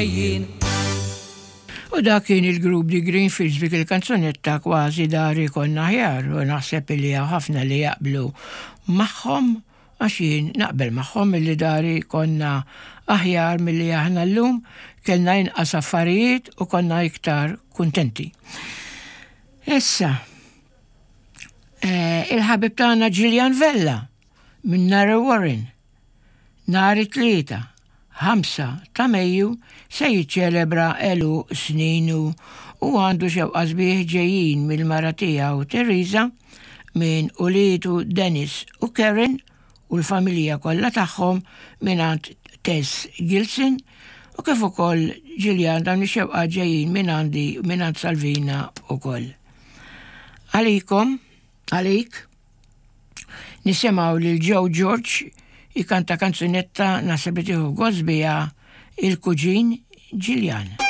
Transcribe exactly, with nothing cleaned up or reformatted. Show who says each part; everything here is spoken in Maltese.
Speaker 1: Jien.
Speaker 2: U dak kien il-grupp The Greenfields b'dik il-kanzunetta "Kważi Dari Konna Aħjar", u naħseb li hawn ħafna li jaqblu magħhom, għax jien naqbel magħhom illi dari konna aħjar milli aħna llum, kellna inqas affarijiet u konna iktar kuntenti. Issa, eh, il-ħabib tagħna Gillian Vella minn Narrow Warren, nhar it-Tlieta, ħamsa ta' Mejju, se jiċċelebra għeluq sninu u għandu xewqa sbieħ ġejjin mill-mara tiegħu Teresa, minn uliedu Dennis u Karen u l-familja kollha tagħhom, mingħand Tess Gilson, u kif ukoll Gillian, dawn ix-xewqa ġejjin minn għandi, mingħand Salvina ukoll. Għalikom, għalik, nisimgħu lil Joe George jikanta kanzunetta naħseb li tieħu gost biha il-kuġin Gillian.